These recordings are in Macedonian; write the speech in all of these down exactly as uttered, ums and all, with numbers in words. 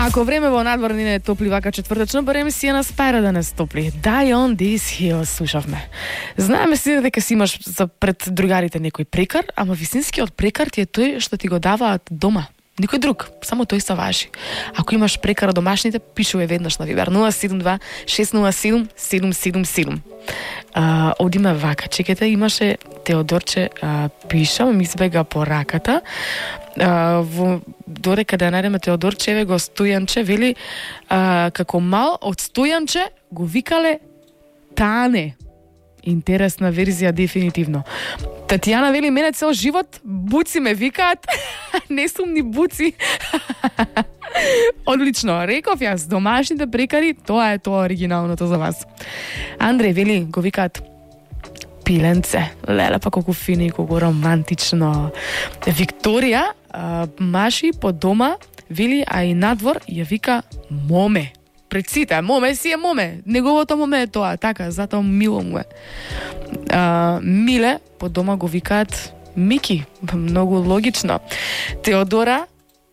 Ако време во надвор не е топли вака четвртачно, барем си ја на спајра да не стопли. Die on this hill слушавме. Знаеме си дека си имаш за пред другарите некој прекар, ама вистинскиот прекар ти е тој што ти го даваат дома. Никој друг, само тој се важи. Ако имаш прекара домашните, пишувај веднаш на Вибер нула седум два шест нула седум седум седум седум. А, одиме вака, чекате, имаше Теодорче, а, пишам, ми избега по раката. А, во, додека да најдеме Теодорче, еве го Стојанче, вели, а, како мал од Стојанче го викале Тане. Интересна верзија, дефинитивно. Татјана вели, мене цел живот буци ме викаат, не сум ни буци. Одлично, реков јас, домашните прекари, тоа е тоа оригиналното за вас. Андреј вели, го викаат пиленце, леле па колку фини и колку романтично. Викторија, а, маши по дома, вели, а и надвор ја вика моме. Пред сите, моме си е моме, неговото моме е тоа, така, затоа мило му е. А, Миле, по дома го викаат Мики, многу логично. Теодора,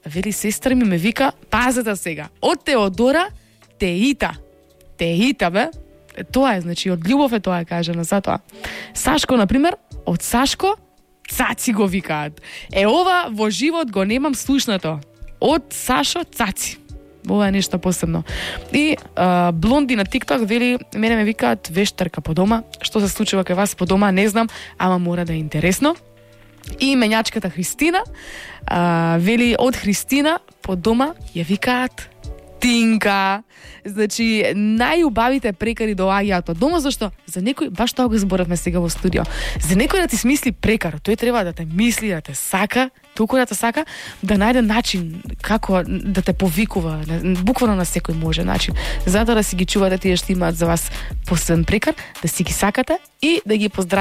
вели, сестра ми ме вика, пазете сега, од Теодора, Теита. Теита, бе, тоа е, значи, од љубов е тоа, кажано, затоа. Сашко, например, од Сашко, Цаци го викаат. Е, ова во живот го немам слушнато. Од Сашо, Цаци. Ова е нешто посебно. И а, Блонди на TikTok вели, мене ме викаат вештарка по дома. Што се случува кај вас по дома, не знам, ама мора да е интересно. И менјачката Христина а, вели, од Христина по дома ја викаат Тинка. Значи, најубавите прекари доаѓаат од дома, зашто за некој, баш тоа го зборавме сега во студио, за некој да ти смисли прекар, тој треба да те мисли, да те сака, толку да те сака, да најде начин како да те повикува, буквално на секој може начин. Затоа да си ги чувате тие што имаат за вас посебен прекар, да си ги сакате и да ги поздравите